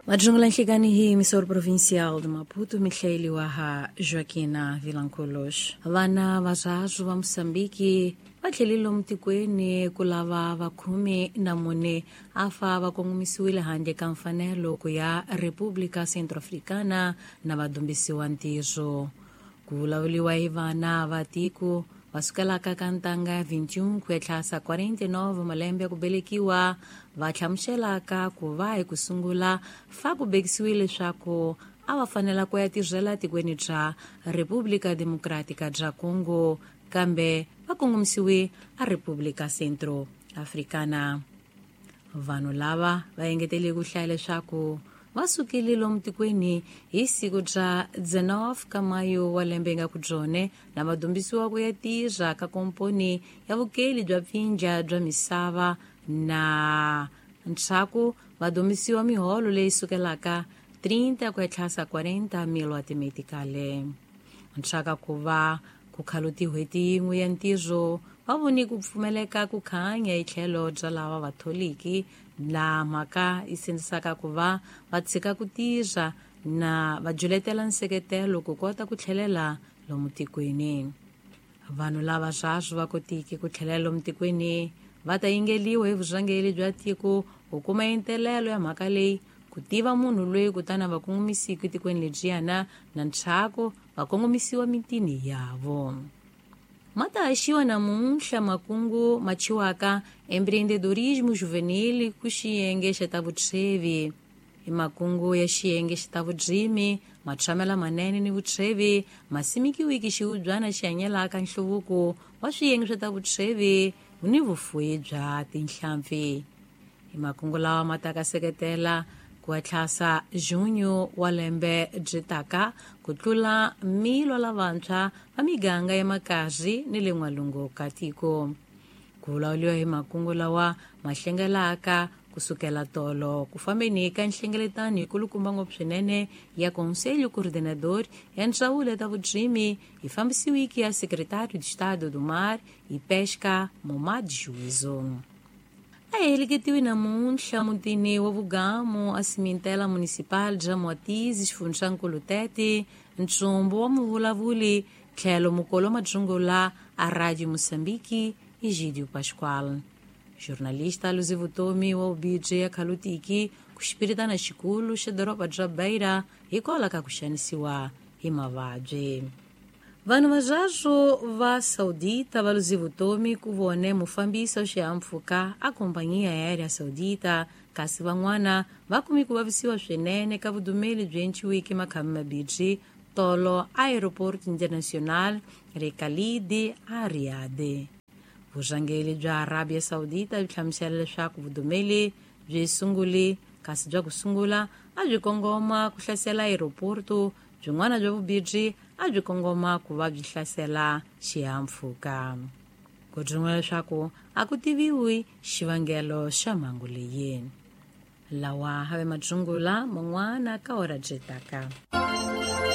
Majungula nhlikani hi emissora provincial de Maputo, mihlayeliwa ha Joaquina Vilanculos. Vana va swahaswo va Moçambique va tlhelile mutikweni ku lava va 14 a fa va kongomisiwile handle ka mfanelo ku ya República Centro-Africana na va dumbisiwa ntirho. Ku vulavuriwa hi vana va tiko va sukelaka ka ntanga ya 21 ku ya tlhasa 49 malembe ya ku velekiwa va hlamuselaka ku va hi ku sungula fa ku bekisiwile leswaku a va fanela ku ya tirhela tikweni bya República Democrática bya Congo, kambe va kongomisiwe a República Centro Africana. Vanhu lava va engetele ku hlaya leswaku va sukile lomu tikweni hi siku bya 19 ka mayo wa lembe nga ku byone na va dumbisiwa ku ya tirha ka komponi ya vukeli bya pfinja bya misava na ntshaku va dumbisiwa miholo leyi sukelaka 30 ku ya tlhasa 40 mil wa timetikale. Ntshaku ku va ku khalu tin'hweti yin'we ya ntirho va voni ku pfumeleka ku khanya hi tlhelo bya lava vatholiki laha mhaka yi sindzisaka ku va va tshika ku tirha na va juletela nseketelo ku kota ku tlhelela lomu tikweni. Vanhu lava swaswo va kotiki ku tlhelela lomu tikweni va ta yingeliwa hi vurhangeri bya tiko ku kuma entelelo ya mhaka leyi, ku tiva munhu loyi kutani va kongomisiki tikweni lebyiyana na ntshaku va kongomisiwa mitini yavo. Ma ta haxiwa namuntlha makungu ma chiwaka empreendedorismo juvenil ku xiyenge xa ta vutshwevi. I makungu ya xiyenge xa ta vudzimi, matshamela manene ni vutshwevi ma simikiwiki xihubyana xi hanyelaka nhluvuko wa swiyenge swa ta vutshwevi ni vufuwi bya tinhlampfi. I makungu lawa ma ta ka seketela ku tlhasa junho wa lembe byi taka ku tlula milo lavantshwa va miganga ya makazi ni le n'walungu ka tiko. Ku vulavuriwa hi makungu lawa ma hlengelaka ku sukela tolo ku fambeni ka nhlengeletano yikulukumba ngopfu swinene ya Conselho Coordenador ya Ndzawulo ya ta Vudzimi yi fambisiwiki ya Secretário de Estado do Mar e Pesca Momad Juízo. A heleketiwe namuntlha mutini wa Vugamu a Cimentela Municipal bya Mwatizi xifundzankulu Tete ntsumbu wa muvulavuli tlhelo mukolo madzungula a Radio Moçambique Egídio Pascoal. Jornalista luzi vutomi wa ubibye ya khalutiki ku xipiritana xikulu xa doroba bya Beira hikwalaho ka ku xanisiwa hi mavabyi. Vanhu va swaswo va Saudita va luzi vutomi ku vone mufambisi wa xihahampfhuka a Companhia Aérea Saudita, kasi van'wana va kumi ku vavisiwa swinene ka vudumeli byi enciwiki makhami mabibyi tolo Aeroporto Internacional Khalid a Riyadh. Vurhangeri bya Arabia Saudita byi hlamusela leswaku vudumeli byi sunguli kasi bya ku sungula a byi kongoma ku hlasela aeroporto, byin'wana bya vubibyi a byi kongoma ku va byi hlasela xihahampfhuka. Ku byin'wana leswaku a ku tiviwi xivangelo xa mhangu leyi. Lawa have madzungula man'wana ka ora byi taka.